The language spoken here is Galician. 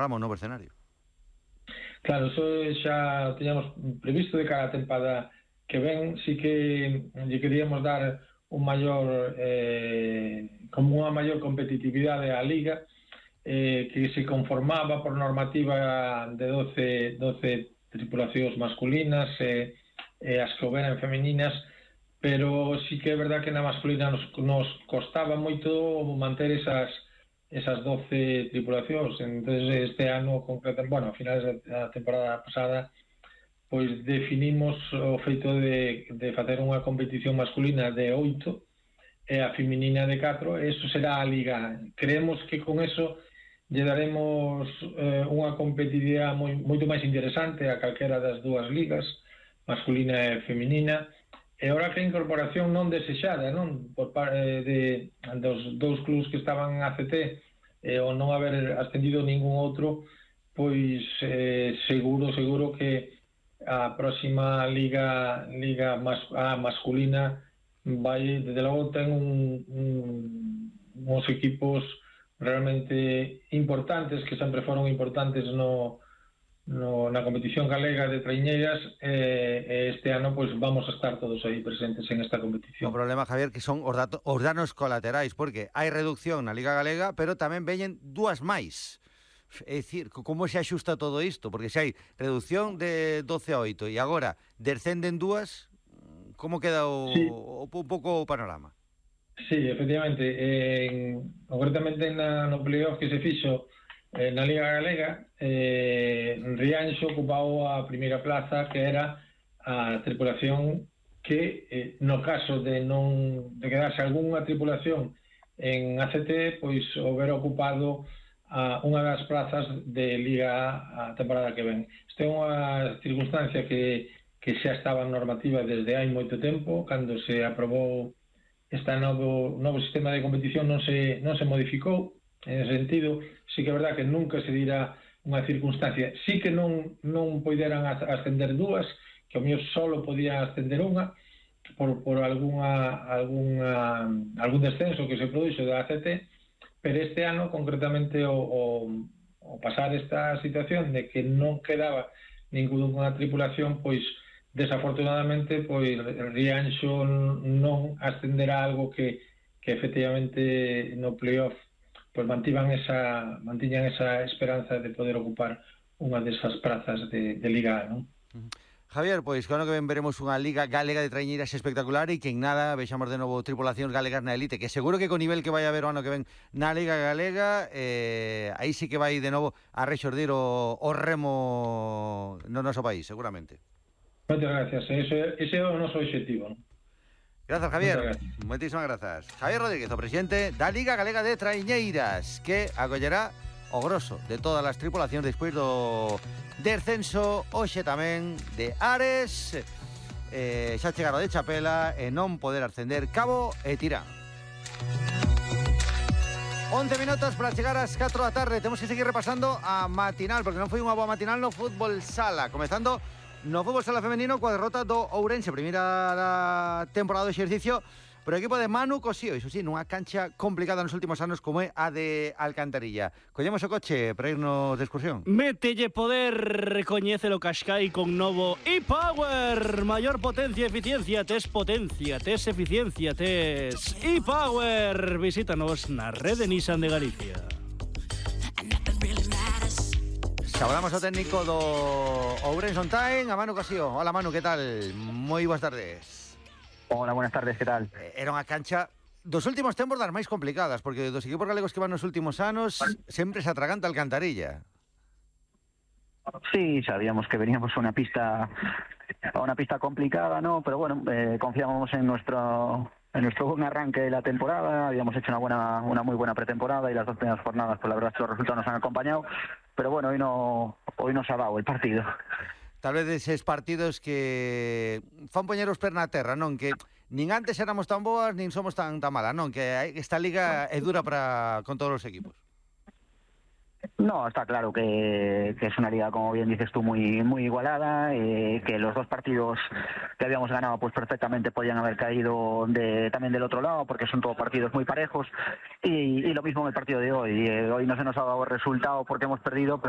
panorama, un novo escenario. Claro, eso xa teñamos previsto de cara a tempada que ven. Sí que lle queríamos dar un maior como unha maior competitividade á Liga, que se conformaba por normativa de 12 tripulacións masculinas e as que houberan femininas, pero sí que é verdad que na masculina nos costaba moito manter esas 12 tripulacións. Entonces este ano concretamente, bueno, a finales da temporada pasada, pois definimos o feito de facer unha competición masculina de 8 e a feminina de 4, e eso será a Liga. Creemos que con eso lle daremos unha competitividade moito máis interesante a calquera das dúas ligas, masculina e feminina, e ora que a incorporación non desexada, non, por parte dos dous clubs que estaban en ACT, ou non haber ascendido ningún outro, pois seguro que a próxima liga masculina vai, desde logo, ten uns equipos realmente importantes, que sempre foron importantes na competición galega de traiñeiras, e este ano pois vamos a estar todos aí presentes en esta competición. O problema, Javier, que son os danos colaterais, porque hai reducción na Liga Galega, pero tamén veñen dúas máis. É dicir, como se axusta todo isto? Porque se hai reducción de 12 a 8 e agora descenden dúas, como queda un pouco o panorama? Sí, efectivamente. Concretamente no playoff que se fixo na Liga Galega, Rianxo ocupou a primeira plaza, que era a tripulación que, no caso de quedarse algunha tripulación en ACT, pois houbera ocupado unha das plazas de Liga a temporada que ven. Isto é unha circunstancia que xa estaba en normativa desde hai moito tempo. Cando se aprobou este novo sistema de competición non se modificou en ese sentido. Sí que é verdad que nunca se dirá unha circunstancia. Sí que non poideran ascender dúas, que ao mellor solo podía ascender unha por algún descenso que se produxo da ACT, pero este ano, concretamente, o pasar esta situación de que non quedaba ninguna tripulación, pois desafortunadamente pois Rianxo non ascenderá, algo que efectivamente no playoff pois mantiñan esa esperanza de poder ocupar unha desas prazas de Liga, non? Javier, pois que ano que ven veremos unha Liga Galega de traiñeiras espectacular, e que en nada vexamos de novo tripulacións galegas na elite, que seguro que co nivel que vai haber o ano que ven na Liga Galega, aí sí que vai de novo a rexordir o remo no noso país, seguramente. Moitas gracias, ese é o noso objetivo, non? Grazas, Javier. Moitísimas grazas. Javier Rodríguez, o presidente da Liga Galega de Traiñeiras, que acollerá o grosso de todas as tripulacións despois do descenso hoxe tamén de Ares, xa chegaron de Chapela e non poder ascender Cabo e Tirán. 11 minutos para chegar ás 4 da tarde. Temos que seguir repasando a matinal, porque non foi unha boa matinal no fútbol sala, comezando no fútbol sala femenino coa derrota do Ourense, primeira da temporada do exercicio, pero o equipo de Manu Cosío, iso sí, nunha cancha complicada nos últimos anos como é a de Alcantarilla. Collemos o coche para irnos de excursión. Mételle poder, recoñécelo Qashqai con novo e-Power. Maior potencia e eficiencia, tes eficiencia, tes e-Power. Visítanos na rede Nissan de Galicia. Saludamos ao técnico do Ourense On Time, a Manu Cosío. Hola Manu, que tal? Moi boas tardes. Hola, buenas tardes, ¿qué tal? Era unha cancha dos últimos tempos das máis complicadas, porque dos equipos galegos que van nos últimos anos sempre se atraganta Alcantarilla. Sí, sabíamos que veníamos a una pista complicada, ¿no? Pero bueno, confiábamos en nuestro buen arranque de la temporada. Habíamos hecho una muy buena pretemporada, y las dos primeras jornadas, pues la verdad es que los resultados nos han acompañado. Pero bueno, hoy nos ha dado el partido. Tal vez eses partidos que fan poñer os pés na terra, non? Que nin antes éramos tan boas, nin somos tan malas, non? Que esta liga é dura con todos os equipos. No, está claro que es una liga, como bien dices tú, muy igualada, que los dos partidos que habíamos ganado pues perfectamente podían haber caído también del otro lado, porque son todos partidos muy parejos, y lo mismo en el partido de hoy. Hoy no se nos ha dado el resultado porque hemos perdido, pero